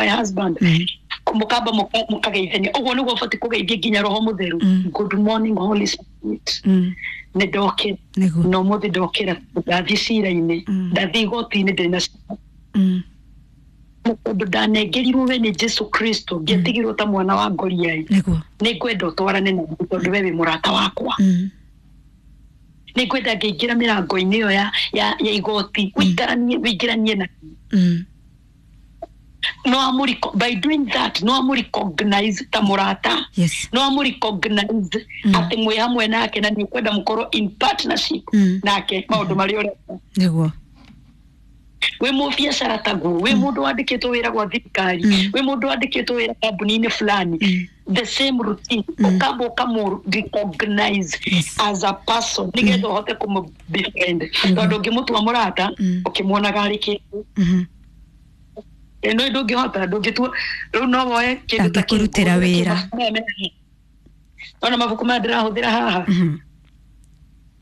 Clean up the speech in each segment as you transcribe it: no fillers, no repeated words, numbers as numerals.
My husband. Mukamba mukageithania ũguo nĩguo ũbatiĩ kũgeithia nginya Roho Mũtheru. Good morning, Holy Spirit. Nĩ ndokĩra na ũmũthĩ ndokĩra ndathiĩ cira-inĩ, ndathiĩ igoti-inĩ ndĩna cira tondũ ndanengerirwo we nĩ Jesu Kristo, ngĩatigirwo ta mwana wa ngoriai. Nĩ ngwenda ũtwarane na niĩ tondũ we wĩ mũrata wakwa. Nĩ ngwenda ngĩingĩra mĩrango-inĩ ĩyo ya igoti ũikaranie wĩingĩranie na no amũ by doing that no amũ recognize ta mũrata, no amũ recognize atĩ mwĩ hamwe nake na nĩ ũkwenda mũkorwo in partnership nake maũndũ marĩa ũreka. Wĩ mũbiacara taguo, wĩ mũndũ wandĩkĩtwo wĩra gwa thirikari, wĩ mũndũ wandĩkĩtwo wĩra kambuni-inĩ fulani, the same routine, ũkamba ũkamũ recognize as a person nĩgetha ũhote kũmũ befriend, tondũ ũngĩmũtua mũrata ũkĩmuonaga arĩ kĩndũ ĩno ndũngĩhota, ndũngĩtua rĩu no woe kĩndũ ta kĩu, Ndangĩkũrutĩra wĩra. Ona mabuku maya ndĩrahũthĩra haha,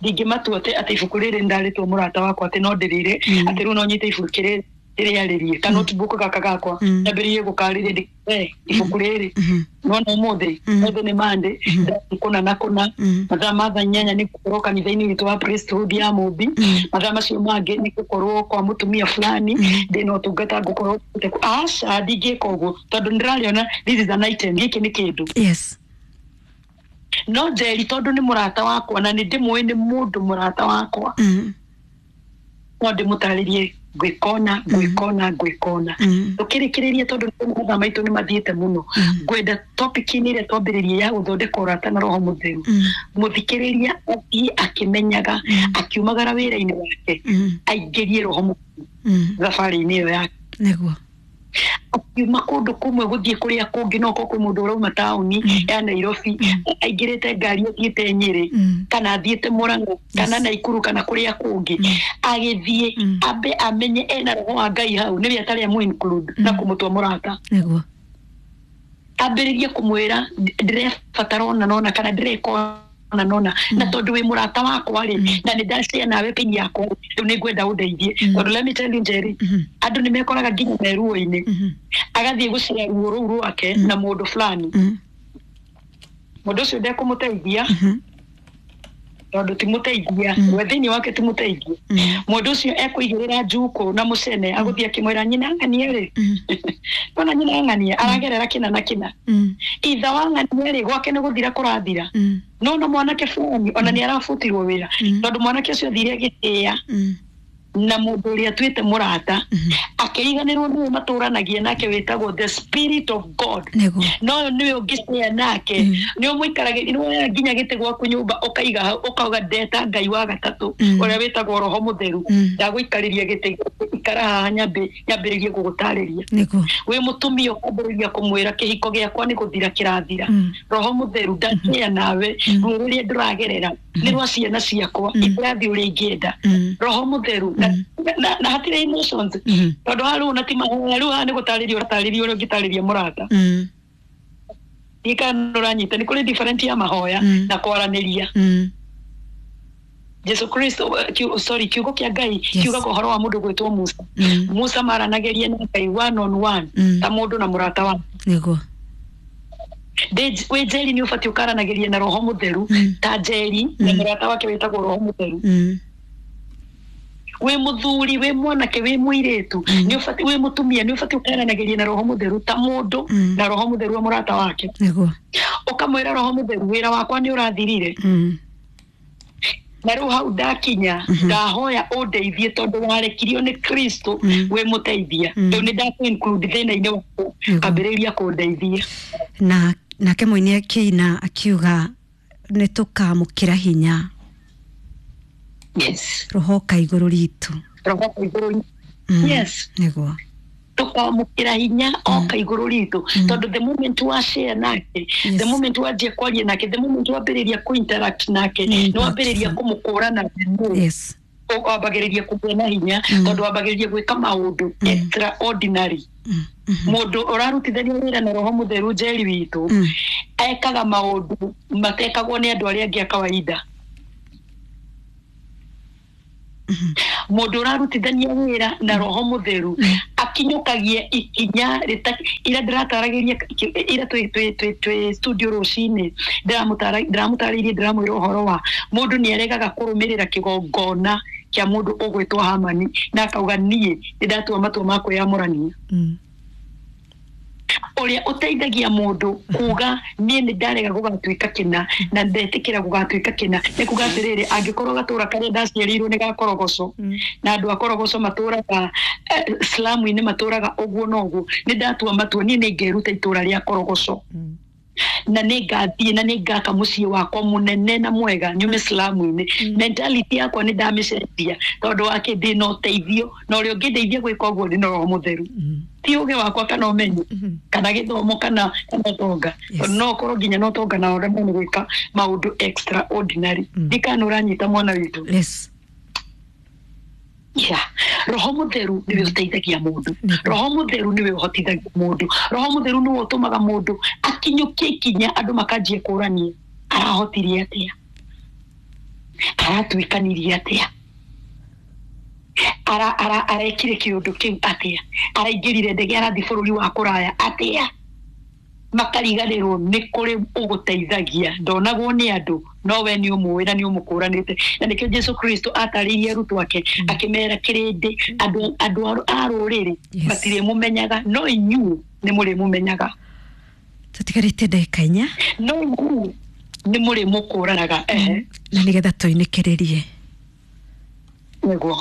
ndingĩmatua atĩ ibuku rĩrĩ ndarĩtwo mũrata wakwa atĩ no ndĩrĩre, atĩ rĩu no nyite ibuku rĩrĩ rĩarĩrie ka notebook gaka gakwa, nyambĩrĩrie gũkarĩria ndĩ ibuku rĩrĩ nona ũmũthĩ ũmũthĩ nĩ Monday, kũna na kũna, mathaa ma thaa 8 nĩ gũkorwo kanitha-inĩ witũ wa priesthood ya Mũmbi, mathaa macio mangĩ nĩ gũkorwo kwa mũtumia fulani ndĩna ũtungata ngũkorwo. Aca, ndingĩka ũguo tondũ nĩndĩrarĩona this is an item, gĩkĩ nĩ kĩndũ. No Njeri tondũ nĩ mũrata wakwa na nĩ ndĩmũĩ nĩ mũndũ mũrata wakwa, no ndĩmũtarĩrie ngwĩkona ngwĩkona ngwĩkona. Tũkĩrĩkĩrĩria, tondũ mathaa maitũ nĩ mathiĩte mũno, ngwenda topic-inĩ ĩrĩa twambĩrĩrie ya gũthondeka ũrata na Roho Mũtheru, mũthikĩrĩria athiĩ akĩmenyaga akiumagara wĩra-inĩ wake, aingĩrie Roho Mũtheru thabarĩ-inĩ ĩyo yake. Akiuma kũndũ kũmwe gũthiĩ kũrĩa kũngĩ, no korwo kwĩ mũndũ ũrauma taũni ya Nairobi aingĩrĩte ngari athiĩte Nyĩrĩ kana athiĩte Mũrang'a kana Naikuru kana kũrĩa kũngĩ, agĩthiĩ ambe amenye ena Roho wa Ngai hau, nĩwe atarĩ amũ include na kũmũtua mũrata, ambĩrĩrie kũmwĩra ndĩrebatara ona nona kana ndĩreka ona nona, na tondũ wĩ mũrata wakwa rĩ, na nĩ ndacĩa nawe pin yakwa rĩu, nĩ ngwenda ũndeithie. Tondũ let me tell you, Njeri, andũ nĩ mekoraga nginya me ruo-inĩ, agathiĩ gũcea ruo rũu rwake na mũndũ fulani, mũndũ ũcio ndekũmũteithia tondũ ti mũteithia we thĩinĩ wake, ti mũteithia. Mũndũ ũcio ekũigĩrĩra njukũ na mũcene, agũthiĩ akĩmwĩra nyina ng'anie rĩ, ona nyina ng'anie aragerera kĩna na kĩna, itha wa ng'anie rĩ, gwake nĩ gũthira kũrathira, no na mwanake fulani ona nĩ arabutirwo wĩra, tondũ mwanake ũcio athire agĩtĩĩa na mũndũ ũrĩa atuĩte mũrata, akĩriganĩrwo nĩwe matũranagia nake wĩtagwo the Spirit of God. No ũyũ nĩwe ũngĩcea nake, nĩ ũmũikaragĩria, nĩ woyaga nginya gĩtĩ gwaku nyũmba ũkaiga hau, ũkauga ndeta Ngai wa gatatũ ũrĩa wĩtagwo Roho Mũtheru, ndagũikarĩria gĩtĩ, ikara haha nyambĩrĩrie gũgũtarĩria. Wĩ mũtumia ũkambĩrĩria kũmwĩra kĩhiko gĩakwa nĩ gũthira kĩrathira, Roho Mũtheru ndacĩa nawe, ruo rũrĩa ndĩragerera nĩ rwa ciana ciakwa, itirathiĩ ũrĩa ingĩenda, Roho Mũtheru, na hatirĩ emotions, tondũ haha rĩu ona ti mahoya, rĩu haha nĩ gũtarĩria ũratarĩria ũrĩa ũngĩtarĩria mũrata. Kana ũranyita nĩ kũrĩ different ya mahoya na kwaranĩria. Jesu Kristo, sorry, kiugo kĩa Ngai kiugaga ũhoro wa mũndũ gwĩtwo Musa. Musa maranagĩria na Ngai one on one, ta mũndũ na mũrata wake. Wĩ Njeri nĩ ũbatiĩ ũkaranagĩria na Roho Mũtheru ta Njeri na mũrata wake wĩtagwo Roho Mũtheru. Wĩ mũthuri, wĩ mwanake, wĩ mũirĩtu, nĩ ũbatiĩ, wĩ mũtumia, nĩ ũbatiĩ ũkaranagĩria na Roho Mũtheru ta mũndũ na Roho Mũtheru wa mũrata wake. Ũkamwĩra, Roho Mũtheru, wĩra wakwa nĩ ũrathirire, na rĩu hau ndakinya ndahoya ũndeithie, tondũ warekirio nĩ Kristo wĩ mũteithia, rĩu nĩ ndakũ include thĩna-inĩ waku, ambĩrĩria kũndeithia. Na nake mũini akĩina akiuga nĩ tũkamũkĩra hinya Roho ka igũrũ ritũ. Roho ka igũrũ. Yes. Tũkamũkĩra hinya oka igũrũ ritũ, tondũ the moment wa share nake, the moment wanjia kwaria nake, the moment wambĩrĩria kũ-interact nake, Nĩ nĩ wambĩrĩria impactful. kũmũkũrana, wambagĩrĩria kũgĩa na hinya, tondũ wambagĩrĩria gwĩka maũndũ extraordinary. Mũndũ ũrarutithania wĩra na Roho Mũtheru, Njeri witũ, ekaga maũndũ matekagwo nĩ andũ arĩa angĩ a kawaida. Mũndũ ũrarutithania wĩra na Roho Mũtheru. Akinyũkagie ikinya ira ndĩrataragĩria ira twĩ studio rũcinĩ, ndĩramũtarĩirie, ndĩramwĩra ũhoro wa mũndũ nĩ aregaga kũrũmĩrĩra kĩgongona kĩa mũndũ ũgwĩtwo Hamani, na akauga niĩ nĩ ndatua matua ma kwĩyamũrania. Ũrĩa ũteithagia mũndũ kuga niĩ nĩ ndarega gũgatuĩka kĩna na ndetĩkĩra gũgatuĩka kĩna, nĩ kuga atĩrĩrĩ, angĩkorwo gatũra karĩa ndaciarĩirwo nĩ ga Korogoco, na andũ a Korogoco matũraga slamu-inĩ, matũraga ũguo na ũguo, nĩ ndatua matua niĩ nĩ ngeruta itũra rĩa Korogoco, na nĩ ngathiĩ na nĩ ngaka mũciĩ wakwa mũnene na mwega nyume slamu-inĩ. Mentality yakwa nĩ ndamĩcenjia tondũ wake ndĩ na ũteithio, na ũrĩa ũngĩndeithia gwĩka ũguo ndĩ na Roho Mũtheru, ti ũgĩ wakwa kana ũmenyo kana gĩthomo kana ũtonga. No ũkorwo nginya na ũtonga na ũremwo nĩ gwĩka maũndũ extraordinary. Ndikana ũranyita, mwana witũ? Yes. Yeah. Roho Mũtheru nĩwe ũteithagia mũndũ. Roho Mũtheru nĩwe ũhotithagia mũndũ. Roho Mũtheru nĩwe ũtũmaga mũndũ akinyũkie ikinya andũ makanjia kũrania, arahotirie atĩa, aratuĩkanirie atĩa, arekire kĩũndũ kĩu atĩa, araingĩrire ndege arathiĩ bũrũri wa kũraya atĩa. Makariganĩrwo nĩ kũrĩ ũgũteithagia, ndonagwo nĩ andũ, no we nĩ ũmũĩ na nĩ ũmũkũranĩte. Na nĩkĩo Jesu Kristo atarĩirie arutwo ake akĩmera, kĩrĩndĩ, andũ a rũrĩrĩ matirĩmũmenyaga, no inyuĩ nĩ mũrĩmũmenyaga. Tũtigarĩtie ndagĩka 4. No inyuĩ nĩ mũrĩmũkũranaga, ehe. Na nĩgetha tũinĩkĩrĩrie. Nĩguo.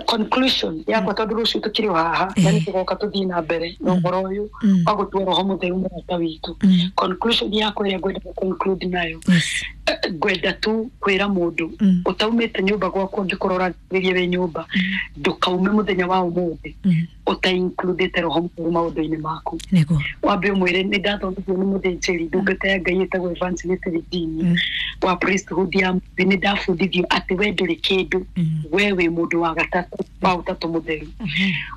Conclusion yakwa, tondũ rũciũ tũkĩrĩ o haha na nĩ tũgoka tũthiĩ na mbere na ũhoro ũyũ wa gũtua Roho Mũtheru mũrata witũ. Conclusion yakwa ĩrĩa ngwenda conclude nayo, ngwenda tu kwĩra mũndũ ũtaumĩte nyũmba gwaku, angĩkorwo ũrathĩrĩria wĩ nyũmba, ndũkaume mũthenya wa ũmũthĩ ũta-includĩte Roho Mũtheru maũndũ-inĩ maku. Wambe ũmwĩre, nĩ ndathomithio nĩ mũthĩnjĩri ndungata ya Ngai ĩtagwo Evangelist Virginia wa priesthood ya Mũmbi, nĩ ndabundithio atĩ we ndũrĩ kĩndũ, we wĩ mũndũ wa gatatũ wa Ũtatũ Mũtheru.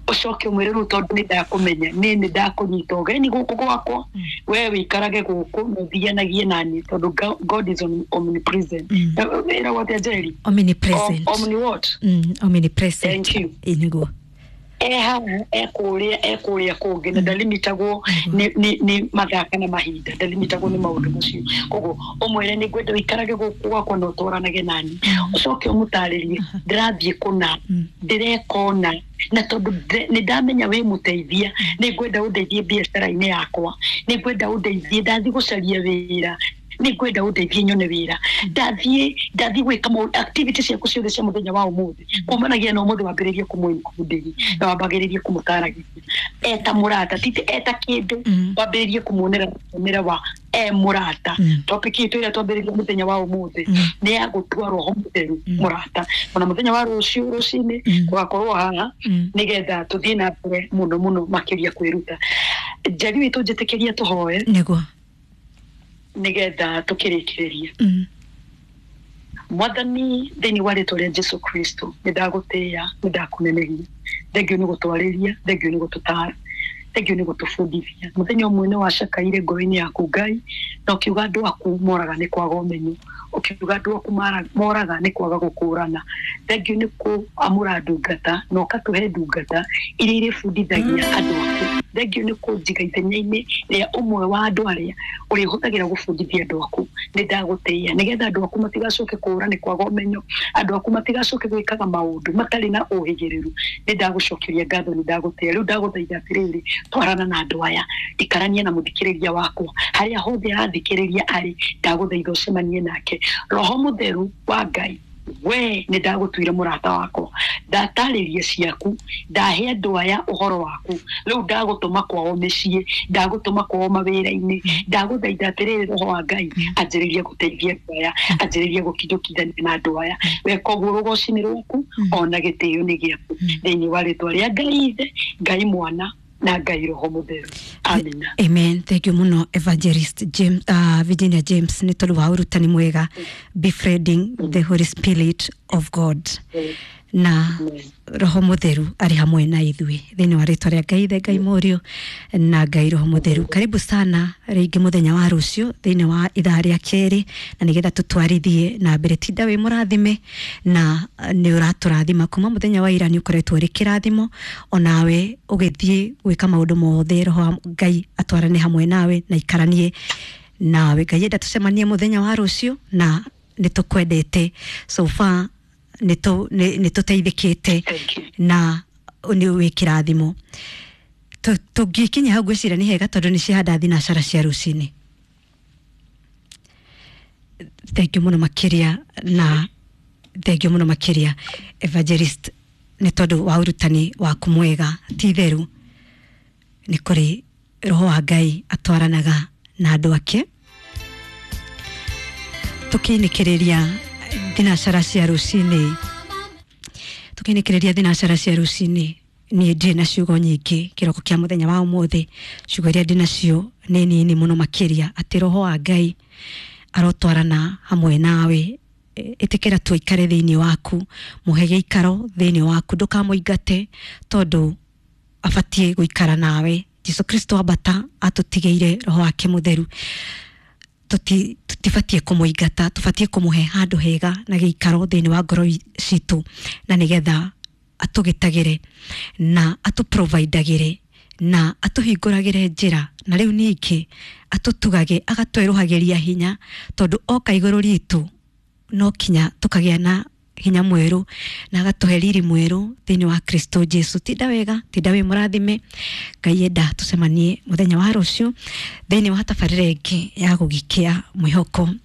Ũcoke ũmwĩre, rĩu tondũ nĩ ndakũmenya, niĩ nĩ ndakũnyita ũgeni gũkũ gwakwa, we wĩikarage gũkũ na ũthianagie naniĩ, tondũ God is omnipresent. Ĩragwo atĩa, Njeri? Omnipresent. Omni what? Omnipresent. Thank you. Ĩ, nĩguo. E haha, e kũrĩa, e kũrĩa kũngĩ, na ndalimitagwo nĩ mathaa kana mahinda, ndalimitagwo nĩ maũndũ macio. Koguo ũmwĩre, nĩ ngwenda ũikarage gũkũ gwakwa na ũtwaranage nani. Ũcoke ũmũtarĩrie, ndĩrathiĩ kũna, ndĩreka ũna, na tondũ nĩ ndamenya wĩ mũteithia, nĩ ngwenda ũndeithie biacara-inĩ yakwa, nĩ ngwenda ũndeithie ndathiĩ gũcaria wĩra, nĩ ngwenda ũndeithie nyone wĩra, ndathiĩ gwĩka activity ciaku ciothe cia mũthenya wa ũmũthĩ kumanagia na ũmũthĩ. Wambĩrĩrie kũmũ-include na wambagĩrĩrie kũmũtaragĩria eta mũrata, titi eta kĩndũ. Wambĩrĩrie kũmuonera muonere wa e mũrata. Topic itũ ĩrĩa twambĩrĩria mũthenya wa ũmũthĩ nĩ ya gũtua Roho Mũtheru mũrata. Ona mũthenya wa rũciũ rũcinĩ tũgakorwo haha nĩgetha tũthiĩ na mbere mũno mũno makĩria kwĩruta. Njeri witũ, njĩtĩkĩria tũhoe nĩgetha tũkĩrĩkĩrĩrie. Mwathani, thĩinĩ wa rĩtwa rĩa Jesu Kristo, nĩ ndagũtĩĩa, nĩ ndakũnenehia. Thengiũ nĩ gũtwarĩria, thengiũ nĩ gũtũtara, thengiũ nĩ gũtũbundithia. Mũthenya ũmwe nĩ wacakaire ngoro-inĩ yaku, Ngai, na ũkiuga andũ aku moraga nĩ kwaga ũmenyo, ũkiuga andũ aku moraga nĩ kwaga gũkũrana. Thengiũ nĩ kũamũra ndungata na ũkatũhe ndungata iria irĩbundithagia andũ aku. Thengiũ nĩ kũnjiga ithenya-inĩ rĩa ũmwe wa andũ arĩa ũrĩhũthagĩra gũbundithia andũ aku. Nĩ ndagũtĩĩa nĩgetha andũ aku matigacoke kũũra nĩ kwaga ũmenyo, andũ aku matigacoke gwĩkaga maũndũ matarĩ na ũhĩgĩrĩru. Nĩ ndagũcokeria ngatho, nĩ ndagũtĩĩa. Rĩu ndagũthaitha atĩrĩrĩ, twarana na andũ aya, ikarania na mũthikĩrĩria wakwa harĩa hothe arathikĩrĩria arĩ. Ndagũthaitha ũcemanie nake. Roho Mũtheru wa Ngai, we nĩ ndagũtuire mũrata wakwa, ndatarĩria ciaku, ndahe andũ aya ũhoro waku. Rĩu ndagũtũma kwao mĩciĩ, ndagũtũma kwao mawĩra-inĩ. Ndagũthaitha atĩrĩrĩ, Roho wa Ngai, anjĩrĩria gũteithia andũ aya, anjĩrĩria gũkinyũkithania na andũ aya. Weka ũguo, rũgoci nĩ rwaku ona gĩtĩo nĩ gĩaku, thĩinĩ wa rĩtwa rĩa Ngai Ithe, Ngai Mwana na Ngai Roho Mũtheru, amina. Amen. Thank you muno, Evangelist James, Virginia James, nĩ tondũ wa ũrutani mwega, befriending the Holy Spirit of God. Na Roho Mutheru arĩ hamwe na ithuĩ thĩinĩ wa rĩtwa rĩa Ngai Ithe, Ngai Mũriũ na Ngai Roho Mutheru. Karibu sana rĩngĩ mũthenya wa rũciũ thĩinĩ wa ithaa rĩa kerĩ, na nĩgetha tũtwarithie na mbere. Tinda wĩ mũrathime na nĩ ũratũrathima kuma mũthenya wa ira, nĩ ũkoretwo ũrĩ kĩrathimo onawe ũgĩthiĩ gwĩka maũndũ mothe. Roho wa Ngai atwarane hamwe nawe na ikaranie nawe. Ngai enda tũcemanie mũthenya wa rũciũ, na nĩ tũkwendete. So far nĩ tũteithĩkĩte na nĩ wĩ kĩrathimo. Tũngĩkinya hau ngwĩciria nĩ hega, tondũ nĩ cihanda thinacara cia rũcinĩ. Thengiũ mũno makĩria, na thengiũ mũno makĩria, Evangelist, nĩ tondũ wa ũrutani waku mwega. Ti itheru nĩ kũrĩ Roho wa Ngai atwaranaga na andũ ake. Tũkĩinĩkĩrĩria thinacara cia rũcinĩ, tũkĩinĩkĩrĩria thinacara cia rũcinĩ, niĩ ndirĩ na ciugo nyingĩ kĩroko kĩa mũthenya wa ũmũthĩ. Ciugo iria ndĩ nacio nĩ nini mũno makĩria, atĩ Roho wa Ngai arotwarana hamwe nawe. Ĩtĩkĩra tu aikare thĩinĩ waku, mũhe gĩikaro thĩinĩ waku, ndũkamũingate tondũ abatiĩ gũikara nawe. Jesu Kristo ambata atũtigĩire Roho wake Mũtheru. Tũtibatiĩ kũmũingata, tũbatiĩ kũmũhe handũ hega na gĩikaro thĩinĩ wa ngoro citũ, na nĩgetha atũgitagĩre na atũprovidagĩre na atũhingũragĩre njĩra, na rĩu ningĩ atũtugage, agatwerũhagĩria hinya, tondũ oka igũrũ ritũ no kinya tũkagĩa na hinya mwerũ na agatũhe riri mwerũ thĩinĩ wa Kristo Jesu. Tinda wega, tinda wĩ mũrathime. Ngai enda tũcemanie mũthenya wa rũciũ thĩinĩ wa tabarĩra ĩngĩ ya gũgĩkĩa mwĩhoko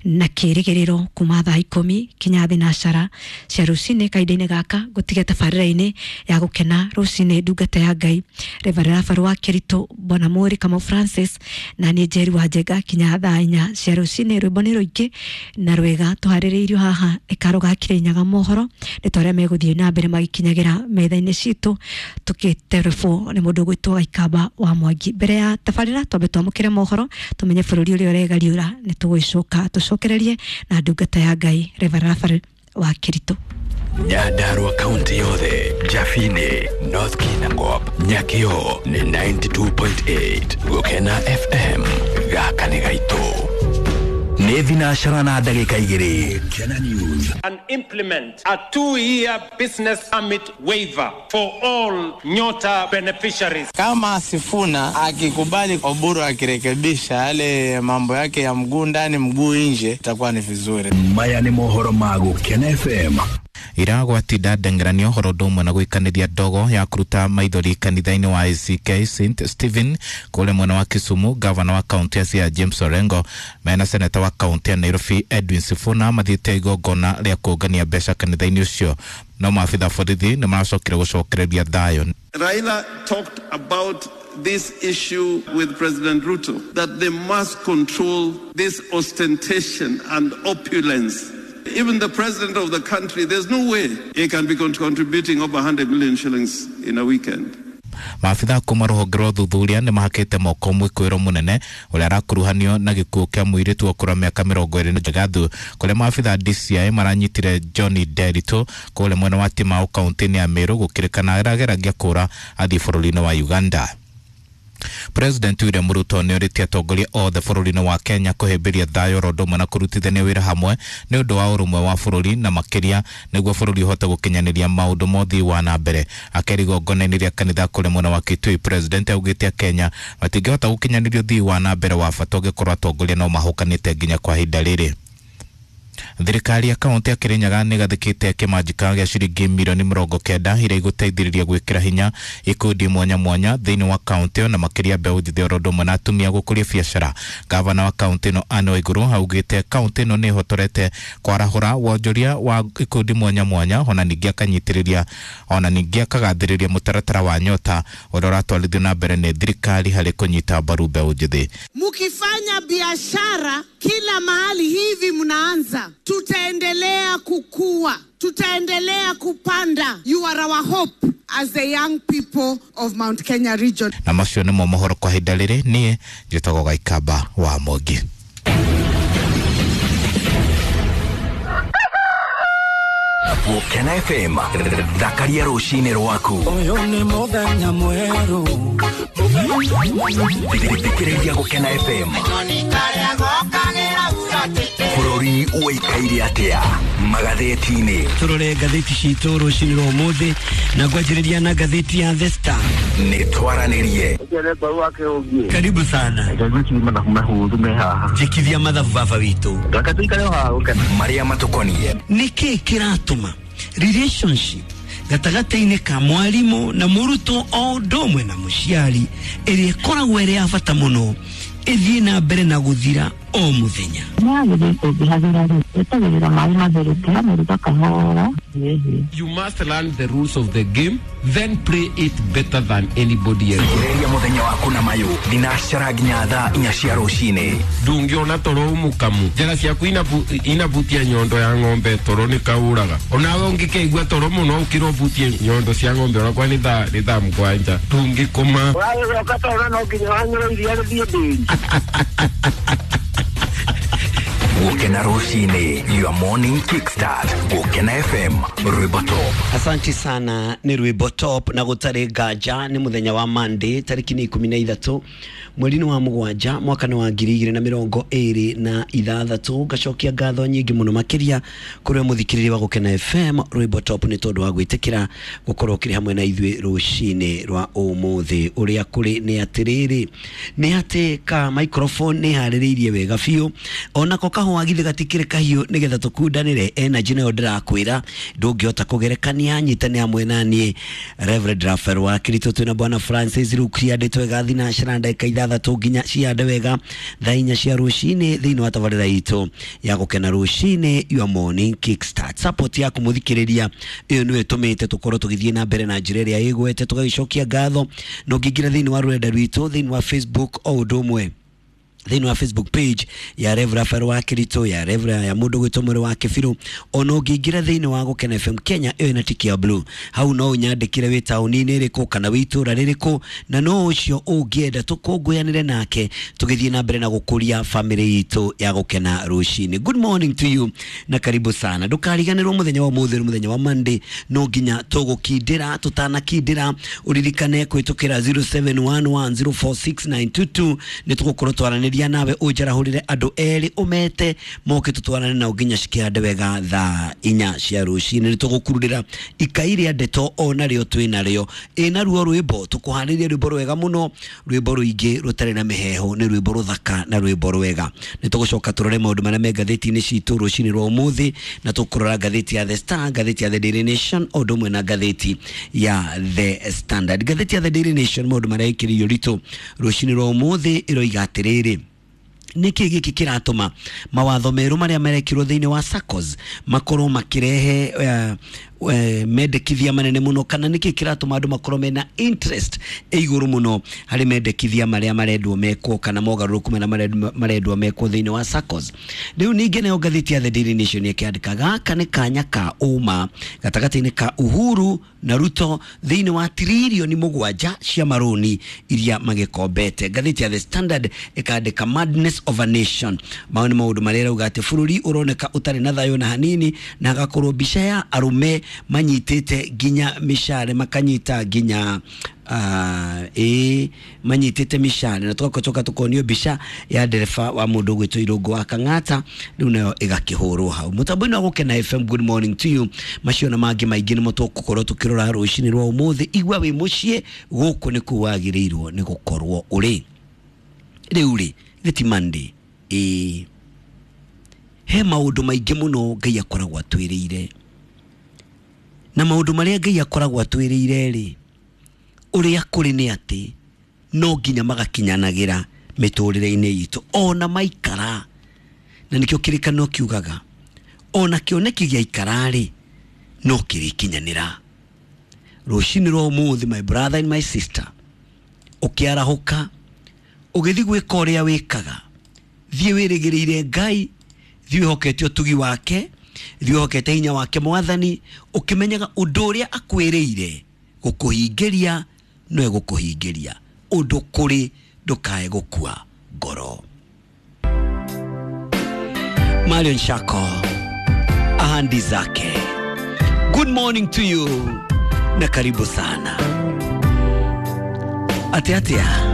na kĩrĩgĩrĩro, kuma thaa 10 kinya thinacara cia rũcinĩ. Kahinda-inĩ gaka gũtige tabarĩra-inĩ ya gũkena rũcinĩ, ndungata ya Ngai Reverend Rafael wa Kĩritũ, Bwana Mũri Kamau Francis, na niĩ Njeri wa Njenga, kinya thaa 4 cia rũcinĩ. Rwĩmbo nĩ rũingĩ na rwega tũharĩrĩirio haha ĩkaro ga Kĩrĩnyaga. Mohoro nĩ ta ũrĩa megũthiĩ na mbere magĩkinyagĩra metha-inĩ citũ, tũgĩterebwo nĩ mũndũ ũgwĩtwo Gaikamba wa Mwangi. Mbere ya tabarĩra, twambe twamũkĩre mohoro, tũmenye bũrũri ũrĩa ũregariũra. Nĩ tũgũgĩcoka tũcokererie na ndungata ya Ngai Reverend Rafael wa Kĩritũ. Nyandarua kaunti yothe, Jafini, North Kinangop, Nyakio nĩ 92.8 Gũkena FM. Gaka nĩ gaitũ. Nĩ thinacara na ndagĩka 2. Kena News. And implement a 2-year business permit waiver for all Nyota beneficiaries. Kama Sifuna akikubali Oburu akirekebisha yale mambo yake ya mguu ndani mguu nje, itakuwa ni vizuri. Maya nĩ mohoro ma Gũkena FM. Iragwatinda ndengerania ũhoro ũndũ ũmwe na gũikanĩria ndogo ya kũruta maithori kanitha-inĩ wa ACK St Stephen kũrĩa mwena wa Kisumu. Gavana wa kaunti ya Siaya James Orengo mena seneta wa kaunti ya Nairobi Edwin Sifuna mathiĩte igongona rĩa kũngania mbeca kanitha-inĩ ũcio, no maabitha borithi nĩ maracokire gũcokereria thayũ. Raila talked about this issue with President Ruto, that they must control this ostentation and opulence. Even the president of the country, there's no way he can be contributing over 100 million shillings in a weekend. Maabitha kuma rũhonge rwa ũthuthuria nĩ mahakĩte moko mwĩkũĩro mũnene ũrĩa arakuruhanio na gĩkuũ kĩa mũirĩtu wa ũkũrũ wa mĩaka 20 Gathu, kũrĩa maabitha DCI maranyitire Johnny Nderitu kũrĩa mwena wa Timau kaunti-inĩ ya Meru, gũkĩrĩkana arageragia kũra athiĩ bũrũri-inĩ wa Uganda. President William Ruto nĩ orĩtie atongoria othe bũrũri-inĩ wa Kenya kũhĩmbĩria thayũ oro ũndũ ũmwe na kũrutithania wĩra hamwe nĩ ũndũ wa ũrũmwe wa bũrũri, na makĩria nĩguo bũrũri ũhote gũkinyanĩria maũndũ mothe wa na mbere. Akĩaria igongona-inĩ rĩa kanitha kũrĩa mwena wa Kitui, President augĩte Kenya matingĩhota gũkinyanĩria ũthii wa na mbere wa bata ũngĩkorwo atongoria no mahũkanĩte nginya kwa ihinda rĩrĩ. Thirikari ya kaunti ya Kirinyaga nĩ ĩgathĩkĩte kĩmanjĩka gĩa ciringi mirioni 90 iria igũteithĩrĩria gwĩkĩra hinya ikundi mwanya mwanya thĩinĩ wa kaunti ĩyo, na makĩria mbeũ njĩthĩ oro ũndũ ũmwe na atumia gũkũria biacara. Gavana wa kaunti ĩno Anne Waiguru augĩte kaunti ĩno nĩ ĩhotorete kwarahũra wonjoria wa ikundi mwanya mwanya, ona ningĩ akanyitĩrĩria, ona ningĩ akagathĩrĩria mũtaratara wa Nyota ũrĩa ũratwarithio na mbere nĩ thirikari harĩ kũnyita mbaru mbeũ njĩthĩ. Mukifanya biashara kila mahali hivi mnaanza, tutaendelea kukua, tutaendelea kupanda. You are our hope as the young people of Mount Kenya region. Na macio nĩmo mohoro kwa ihinda rĩrĩ. Niĩ njĩtagwo Gaikamba wa Mwangi. Gũkena FM, thakaria rũcinĩ rwaku. Ũyũ nĩ mũthenya mwerũ. Thikĩrĩria Gũkena FM. Bũrũri ũikaire atĩa magathĩti-inĩ? Tũrore ngathĩti citũ rũcinĩ rwa ũmũthĩ na ngwanjĩrĩria na ngathĩti ya The Star. Nĩ twaranĩrie. Karibu sana. Njikithia mathabu baba witũ. Marĩa matũkoniĩ. Nĩkĩ kĩratũma relationship gatagatĩ-inĩ ka mwarimũ na mũrutwo o ũndũ ũmwe na mũciari ĩrĩa ĩkoragwo ĩrĩ ya bata mũno ĩthiĩ na mbere na gũthira o mũthenya? You must learn the rules of the game, then play it better than anybody else. Thikĩrĩria mũthenya waku na mayũ thinacara nginya thaa 4 cia rũcinĩ. Ndũngĩona toro mũkamu njara ciaku inabutia nyondo ya ng'ombe toro nĩ kaũraga onawe ũngĩkeigua toro mũno ũkĩra ũbutie nyondo cia ng'ombe onakwa nĩ thaa 7 ndũngĩkoma. Ũragĩcoka toro no nginya wanyue iria rĩthiĩ ndĩri. Gũkena rũcinĩ, your morning kickstart. Gũkena FM, rwĩmbo top. Asanti sana, nĩ rwĩmbo top na gũtarĩ nganja nĩ mũthenya wa Monday tarĩki nĩ 13 mweri-inĩ wa 7 mwaka nĩ wa 2026. Ngacokia ngatho nyingĩ mũno makĩria kũrĩ mũthikĩrĩria wa Gũkena FM rwĩmbo top nĩ tondũ wa gwĩtĩkĩra gũkorwo ũkĩrĩ hamwe na ithuĩ rũcinĩ rwa ũmũthĩ. Ũrĩa kũrĩ nĩ atĩrĩrĩ, nĩ atĩ ka microphone nĩ harĩrĩirie wega biũ onako kahũa githĩ gatikĩrĩ kahiũ nĩgetha tũkundanĩre energy nayo ndĩrakwĩra ndũngĩhota kũgerekania. Nyitane hamwe na niĩ Reverend Raphael wa Kirito twĩna Bwana Francis Rukia ndĩtwe thinacara ndagĩka 6 nginya ciande wega thaa 4 cia rũcinĩ thĩinĩ wa tabarĩra itũ ya Gũkena rũcinĩ, your morning kickstart. Support yaku mũthikĩrĩria ĩyo nĩyo ĩtũmĩte tũkorwo tũgĩthiĩ na mbere na njĩra ĩrĩa ĩgwete, tũgagĩcokia ngatho na ũngĩingĩra thĩinĩ wa rũrenda rwitũ thĩinĩ wa Facebook o ũndũ ũmwe thĩinĩ wa Facebook page ya Rev Raphael wa Kirito, ya Rev ya mũndũ gwĩtwo Mwĩrĩ wa Kĩbirũ, ona ũngĩingĩra thĩinĩ wa Gũkena FM Kenya ĩyo ĩna tiki ya blue hau no ũnyandĩkĩre wĩ taũni-inĩ ĩrĩkũ kana wĩ itũũra rĩrĩkũ, na no ũcio ũngĩenda tũkũngũyanĩre nake tũgĩthiĩ na mbere na gũkũria family itũ ya Gũkena rũcinĩ. Good morning to you na karibu sana. Ndũkariganĩrwo mũthenya wa ũmũthĩ nĩ mũthenya wa Monday, no nginya tũgũkindĩra tũtanakindĩra ũririkane kũhĩtũkĩra 0711046922 nĩ tũgũkorwo twaranĩria nawe ũnjarahũrĩre andũ erĩ ũmete moke tũtwarane nao nginya cikĩhande wega thaa 4 cia rũcinĩ. Nĩ tũgũkururĩra ikai rĩa ndeto o narĩo twĩ narĩo ĩ naruo rwĩmbo tũkũharĩria rwĩmbo rwega mũno, rwĩmbo rũingĩ rũtarĩ na mĩheho, nĩ rwĩmbo rũthaka na rwĩmbo rwega. Nĩ tũgũcoka tũrore maũndũ marĩa me ngathĩti-inĩ citũ rũcinĩ rwa ũmũthĩ, na tũkũrora ngathĩti ya The Star, ngathĩti ya The Daily Nation o ũndũ ũmwe na ngathĩti ya The Standard. Ngathĩti ya The Daily Nation maũndũ marĩa ĩkĩrĩirio ritũ rũcinĩ rwa ũmũthĩ ĩroiga atĩrĩrĩ, nĩkĩ gĩkĩ kĩratũma mawatho merũ marĩa marekirwo thĩinĩ wa SACCOS makorwo makĩrehe mendekithia manene mũno, kana nĩkĩ kĩratũma andũ makorwo mena interest ĩ igũrũ mũno harĩ mendekithia marĩa marendwo mekwo kana mogarũrũku marĩa marendwo mekwo thĩinĩ wa SACCOS. Rĩu ningĩ nayo ngathĩti ya The Daily Nation ĩkĩandĩka gaka nĩ kanya ka ũma gatagatĩ-inĩ ka Uhuru na Ruto thĩinĩ wa tiririoni 7 cia marũni iria magĩkombete. Ngathĩti ya The Standard ĩkandĩka madness of a nation, mao nĩ maũndũ marĩa ĩrauga atĩ bũrũri ũroneka ũtarĩ na thayũ na hanini, na hagakorwo mbica ya arũme manyitĩte nginya mĩcare makanyita nginya manyitĩte mĩcare, na tũgacoka tũkonio mbica ya ndereba wa mũndũ ũgwĩtwo Irũngũ wa Kang'ata, rĩu nayo ĩgakĩhũrwo hau mũtambo-inĩ wa Gũkena FM. Good morning to you. Macio na mangĩ maingĩ nĩmo tũgũkorwo tũkĩrora rũcinĩ rwa ũmũthĩ. Igua wĩ mũciĩ, gũkũ nĩkuo wagĩrĩirwo nĩ gũkorwo ũrĩ. Rĩu rĩ gĩti Monday ĩ he maũndũ maingĩ mũno Ngai akoragwo atwĩrĩire, na maũndũ marĩa Ngai akoragwo atwĩrĩire rĩ, ũrĩa kũrĩ nĩ atĩ no nginya magakinyanagĩra mĩtũrĩre-inĩ itũ ona maikara, na nĩkĩo kĩrĩkanĩro kiugaga ona kĩoneki gĩaikara rĩ no kĩrĩkinyanĩra. Rũcinĩ rwa ũmũthĩ, my brother and my sister, ũkĩarahũka ũgĩthiĩ gwĩka ũrĩa wĩkaga, thiĩ wĩrĩgĩrĩire Ngai, thiĩ wĩhokete ũtugi wake, thiĩ wĩhokete hinya wake Mwathani, ũkĩmenyaga ũndũ ũrĩa akwĩrĩire gũkũhingĩria no egũkũhingĩria, ũndũ kũrĩ ndũkae gũkua ngoro. Marion Shako, ahandi zake. Good morning to you na karibu sana. Atia atia.